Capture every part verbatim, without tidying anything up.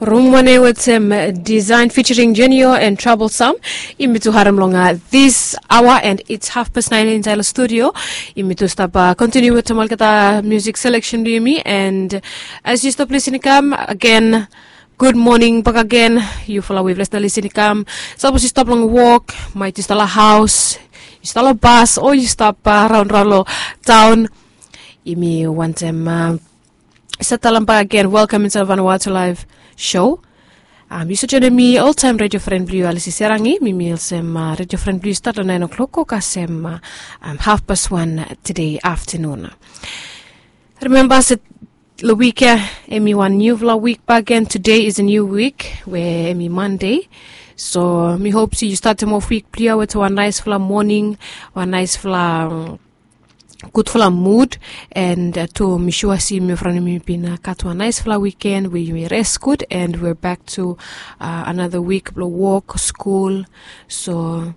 Rumwane wetem Design featuring Genio and Troublesome. Yumi tu harem long this hour and it's half past nine inside the studio. Yumi tu stap continue wetem olgeta music selection blong yumi, and as you stop listening come again, good morning back again. Yufala we bless na listening come, sapos yu stap long wok, maet yu stap long haos, yu stap long bas o yu stap raon raon long taon, yumi wantem satalem bak agen welkam insait of Vanuatu Live show. Yu save joinim mi oltaem redio fren blong yu Alisi Serangi. Mi mi olsem redio fren blong yu stat long naen o'klok go kasem hafpas wan tede aftanun. Rimemba se long wik ya, em i wan niufala wik bak agen. Today is a new week we em i Monday. So mi hop se yu statem of wik blong yu ya wetem wan naesfala moning, wan naesfala gudfala mud. And tu mi sua se yumi from yumi bin gat wan naesfala wiken we yumi res gud and we're back to another wik blong wok, skul. So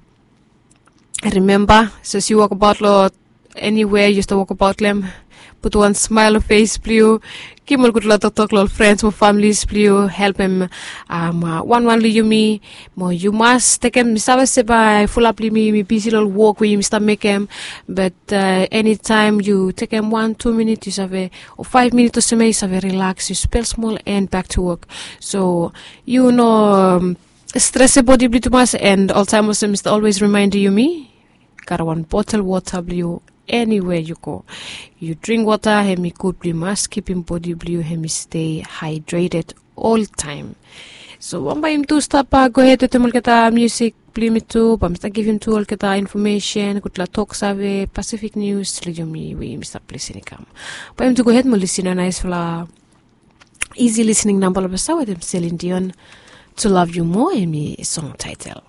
rimemba, sapos yu wokbaot long eniwea yu stap wokbaot long hem, putum wan smael long fes blong yu, givim ol gudfala toktok long ol frens mo familis blong yu, helpem wanwan long yumi. Mo yu mas tekem, mi save se bae fulap blong yumi yumi bisi long ol wok we yumi stap mekem, bat enitaem yu tekem wan tu minit yu save, o faef minit olsem ya yu save rilaks, yu spel smol and bak tu wok. So yu no stresem bodi blong yu tumas. And oltaem olsem mi stap olwes rimaendem yumi, gat wan botel wota blong yu eniwea yu go. Yu dring wota, hem i gud blong yu mas kipim bodi blong yu hem i stei haedreted oltaem. So bambae yumi tu stap gohed wetem olgeta musik blong yumi tu, bae mi stap givim tu olgeta infomesen, gudfala toksave, Pacific News long yumi we yumi stap lisin i kam. Bae yumi tu gohed mo lisin long naesfala isi lisining namba long basa wetem Celine Dion, To Love You More, em i song taetel.